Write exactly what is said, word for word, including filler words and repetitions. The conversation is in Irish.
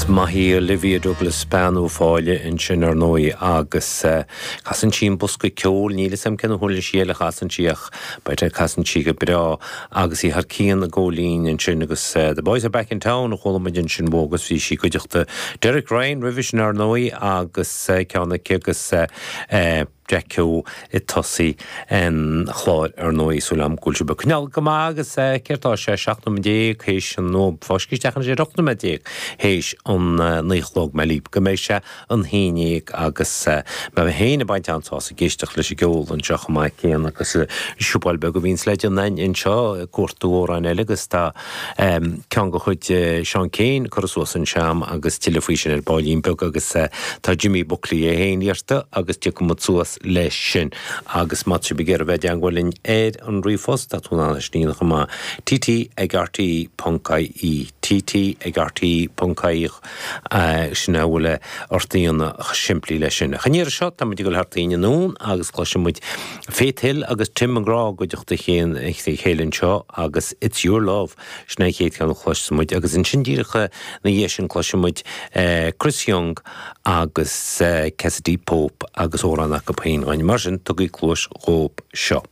Is maith í Olivia Douglas bean Uíbh Fhailí ansin ar ndóigh agus casann sí an bosca ceoil níl a fhios agam cén uirlis eile a chasann sí ach b'fhéidir casann sí go breá agus í thar cionn i gcóilín ansin agus The Boys are back in town a chuala muid ansin uaithi agus bhí sí i gcuideachta Derek Ryan roimhe sin ar ndóigh agus ceann aici agus Jack Keogh i dtosach an chláir ar ndóigh súil agam go bhfuil sibh ag coinneáil go maith agus céard tá sé seacht nóiméad déag théis an nó fáisc isteach an sé ocht nóiméad déag théis an naoi a chlog mé líb go mbeidh sé an haon déag agus mé féin ag baint an-sásamh ag éisteacht leis an gceol anseo chomh maith céanna agus siúbáil beag a bhíonns le déanamh anseo ag cuartú amhráin eile agus tá ceann de chuid Seán Keane curtha suas anseo agus tuilleadh faoi sin ar baillín beag agus tá Jimmy Buckley é féin iarrta agus tiocfaidh muid suas leis sin agus má tá sibh ag iarraidh bheith i dteagmháil linn ar an ríomhphost tá tú in ann é sin a dhéanamh chomh maith TT ag RTE ponc IE TT ag RTE ponc IE sin a bhfuil ort a dhéanamh simplí leis sin. Ach an iarraidh seo tá muid ag dul thart éinne anonn agus cloisfidh muid Faith Hill agus Tim McGraw i gcuideachta a chéile anseo agus It's Your Love sin an chéad cheann a chloisfidh muid agus ansin díreach ina dhiaidh sin cloisfidh muid Chris Young agus Cassadee Pope agus amhrán acu féin. Mar sin tugaigí cluas dhóibh seo.